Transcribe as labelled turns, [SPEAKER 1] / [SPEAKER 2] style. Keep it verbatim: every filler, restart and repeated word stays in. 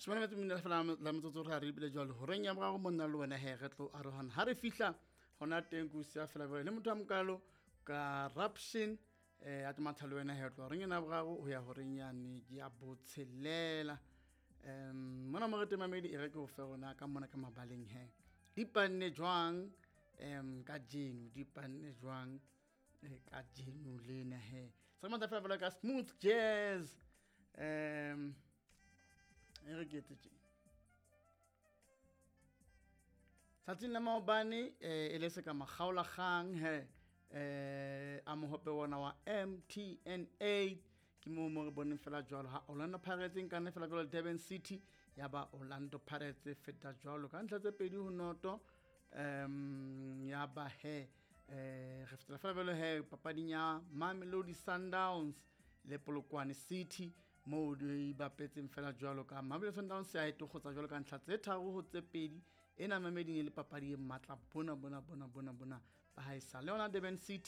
[SPEAKER 1] Shobana metso mene fela la metsotso re a re ebile jwalo horeng ya boraro monna le wena he re tlo arohana. Ha re fihla hona teng ko siya fela jwale le motho a mokalo corruption eh a tlo matha le wena he tlo horeng ena ya boraro ho ya horeng yane ya botshelela. Um mona mo re teng mamedi e re ke o fe rona ka mona ka mabaleng he. Di panne jwang um kajeno, di panne jwang eh, kajeno lena he. Se re matha fela fela ka smooth jazz. Um e re ke etse tje. Tsatsing la maobane eh, e le se ka makgaolakgang he eh a mohope wona wa M T N eight ke moo mo re boneng fela jwalo ha Orlando Pirates e nkane fela jwalo Durban City ya ba Orlando Pirates e feta jwalo ka ntlha tse pedi ho noto. Um ya ba he eh re fetela fela jwalo he papading ya Mamelodi Sundowns le Polokwane City moo di bapetseng fela jwalo ka Mamelodi Sundowns ya etokgotsa jwalo ka ntlha tse tharo ho tse pedi. Ena Mamelodi e le papadi e matla bona bona bona bona bona ba haesale yona Durban City.